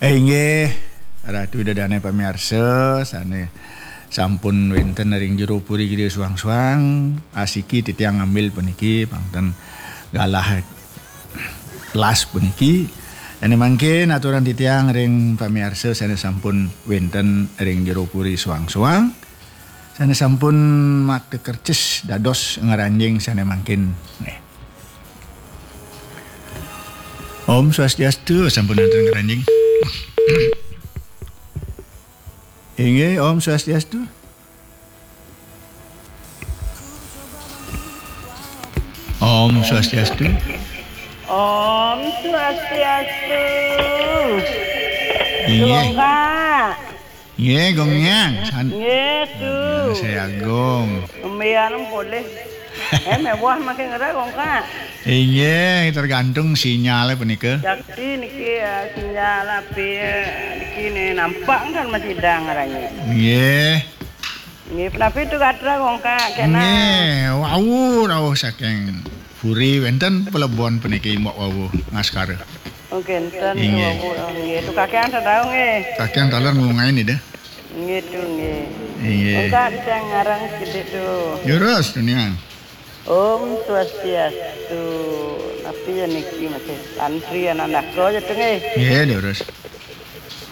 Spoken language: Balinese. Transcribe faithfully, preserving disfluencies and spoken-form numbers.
Eh, inggih, Ratu Ida Dane pamiarsa, sane sampun wenten ring jero puri Gede Suang-Suang, asiki titiang ngambil puniki, pang ten galah las puniki. Sane mangkin aturan titiang ring pamiarsa sane sampun wenten ring jero puri Suang-Suang, sane sampun makta kercis dados ngranjing sane mangkin. Nggih. Om Swastiastu, sampun wenten ngranjing. Inggih, Om Swastiastu. Om Swastiastu. Om Swastiastu. Inggih. Kak. Nggih, Gong Nyang. San- Nggih, Tu. Saya Agung. Kembian boleh. Eh, mewah makin ngerah, Kong Kak. Inggih, tergantung sinyalnya punika. Sakti niki, ya, sinyal api, eh, niki nih nampak kan masih dang ngarangnya. Nggih. Nggih, penapi tu gatra, Kong Kak, kena. Nggih, wau rawuh saking puri wenten pelebon puniki mbok wau ngaskara. Oh, kenten, inggih. Wau, oh, nggih, tu kakean sadau nggih. Kakean taler ngungai nih deh. Nggih, tu nggih. Inggih. Kong Kak, bisa ngarang sedikit tu. Jurus, Tunian. Om Swastiastu. Napi ya niki masih antri anak-anak aja tu nggih. Nggih, jurus.